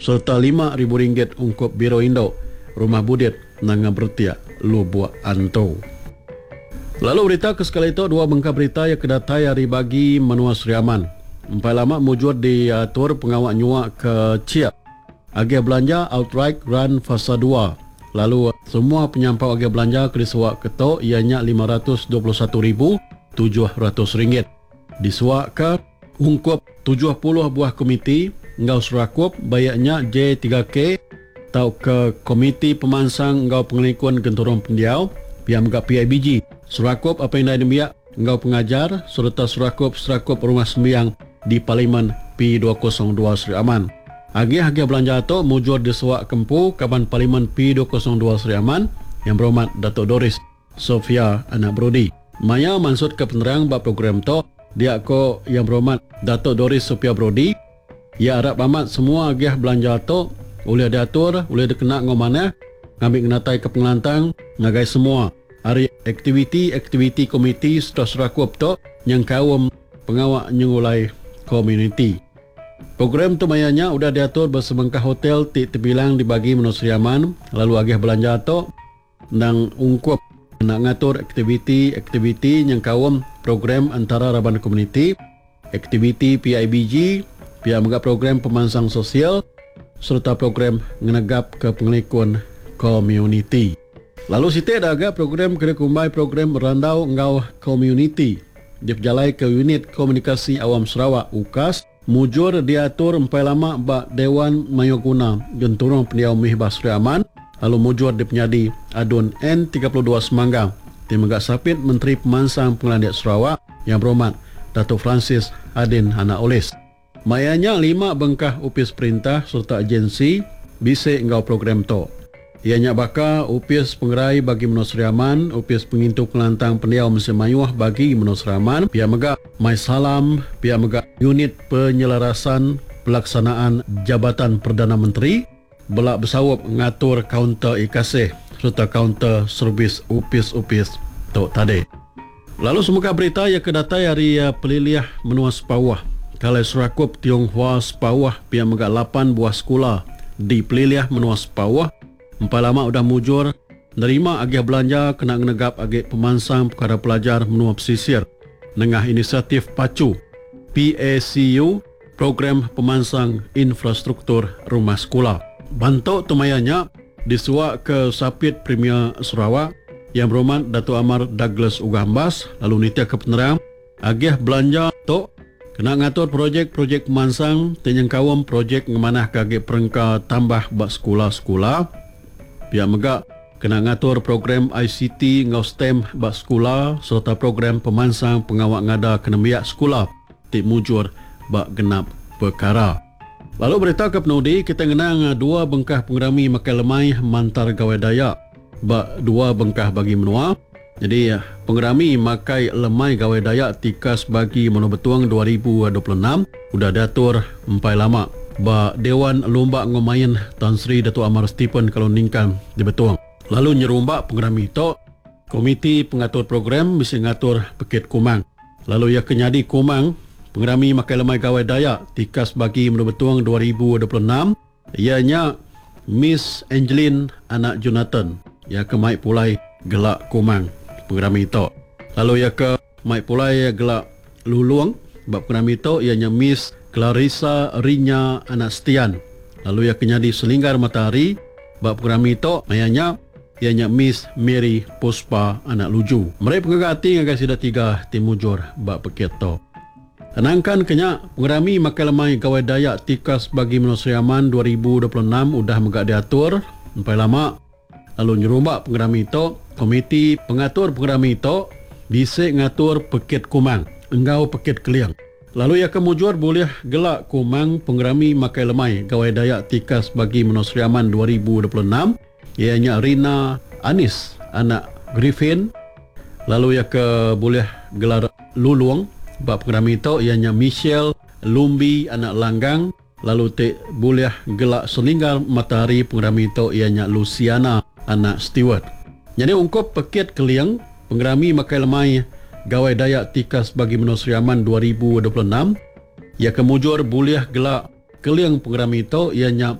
sereta RM5,000 ungkup Biro Indu Rumah Budit Nanga Beretiak Lubok Antu. Lalu berita ke sekali tu dua bengkah berita iya ke datai ari bagi menua Sri Aman. Empai lama mujur diatur pengawa nyua ke chek agih belanja outright grant fasa dua lalu semua penyampau agih belanja ke disuaka tu iya nya RM521,700 disuaka ungkup 70 buah komiti enggau serakup baik nya J3K tauka Komiti Pemansang enggau Pengelikun Genturung Pendiau, pia mega PIBG, Serakup Apai Indai Nembiak enggau Pengajar sereta Serakup Serakup Rumah Sembiang di Parlimen P202 Sri Aman. Agih-agih belanja tu mujur disuaka empu Kaban Parlimen P202 Sri Aman, Yang Berhormat Datuk Doris Sophia Anak Brodi. Maya mansutka penerang ba program tu, dia ko Yang Berhormat Datuk Doris Sophia Brodi, iya arap amat semua agih belanja tu ulih diatur ulih dikena enggau manah ngambi ngenataika pengelantang ngagai semua ari aktiviti-aktiviti komiti sereta serakup tu nyengkaum pengawa nyengulai komuniti. Program tu maya nya udah diatur ba sebengkah hotel ti tebilang di bagi menua Sri Aman lalu agih belanja tu Endang ungkup kena ngatur aktiviti-aktiviti nyengkaum program entara raban komuniti, aktiviti PIBG, pia mega program pemansang sosial sereta program ngenegapka pengelikun komuniti. Lalu siti da ga program ke dikumbai Program Randau enggau Komuniti dipejalaika Unit Komunikasi Awam Sarawak, UKAS, Mujur diatur empai lama ba Dewan Mayuhguna Genturung Pendiau Mihbah Sri Aman lalu mujur dipenyadi ADUN N 32 Semanggang ti mega Sapit Menteri Pemansang Pengelandik Sarawak Yang Berhormat Datuk Francis Adin Anak Olis. Maya nya lima bengkah opis perintah sereta agensi bisi enggau program tu. Iya nya baka Opis Pengerai Bagi Menua Sri Aman, Opis Pengintu Pengelantang Pendiau Mensia Mayuh Bagi Menua Sri Aman, pia mega MySalam, pia mega Unit Penyelarasan Pelaksanaan Jabatan Perdana Menteri bela besaup ngatur kaunter e-kasih sereta kaunter servis opis-opis tu tadi. Lalu semuka berita iya ke datai ari pelilih menua Sepauh, Kalai Serakup Tionghua Sepauh pia mega lapan buah sekula di pelilih menua Sepauh empai lama udah mujur nerima agih belanja kena ngenegap agi pemansang pekara pelajar menua pesisir nengah inisiatif PACU, PACU, Program Pemansang Infrastruktur Rumah Sekula. Bantu tu maya nya disuaka Sapit Premier Sarawak, Yang Berhormat Datuk Amar Douglas Uggah Embas lalu nitihka penerang agih belanja tu kena ngatur projek-projek pemansang ti nyengkaum projek ngemanahka agi perengka tambah ba sekula-sekula. Pia mega kena ngatur program ICT enggau stem ba sekula sereta program pemansang pengawa ngadaka nembiak sekula. ti mujur ba genap pekara. Lalu berita ke penudi kitai ngenang dua bengkah pengerami makai lemai mantar Gawai Dayak ba dua bengkah bagi menua. Nyadi pengerami makai lemai Gawai Dayak tikas bagi Menua Betong 2026 udah diatur empai lama ba Dewan Lumba enggau Main Tan Sri Datuk Amar Stephen Kalong Ningkan di Betong. Lalu nyerumba pengerami tu, komiti pengatur program bisi ngatur pekit kumang. Lalu iya ke nyadi Kumang Pengerami Makai Lemai Gawai Dayak tikas bagi Menua Betong 2026 iya nya Miss Angeline anak Jonathan. Iya ke mai pulai gela Kumang pengerami tu. Lalu iya ke mai pulai gela Lulong ba pengerami tu iya nya Miss Clarissa Rinya anak Setian. Lalu iya ke nyadi Selinggar Matahari ba pengerami tu maya nya iya nya Miss Mary Puspa anak Luju. Meri pengaga ati ngagai sida tiga ti mujur ba pekit tu. Nangkan ke nya, pengerami makai lemai Gawai Dayak tikas bagi menua Sri Aman 2026 udah mega diatur empai lama lalu nyerumba pengerami tu, komiti pengatur pengerami tu bisi ngatur pekit kumang enggau pekit keling. Lalu iya ke mujur bulih gela kumang pengerami makai lemai Gawai Dayak tikas bagi menua Sri Aman 2026, Iya nya Rina Anis anak Griffin lalu iya ke bulih gelar Lulong ba pengerami tu iya nya Michelle Lumbi anak Langgang lalu ti bulih gela Selinggar Matahari pengerami tu iya nya Luciana anak Stewart. Nyadi ungkup pekit keling pengerami makai lemai Gawai Dayak Tikas Bagi Menua Sri Aman 2026 iya ke mujur bulih gela keling pengerami tu iya nya.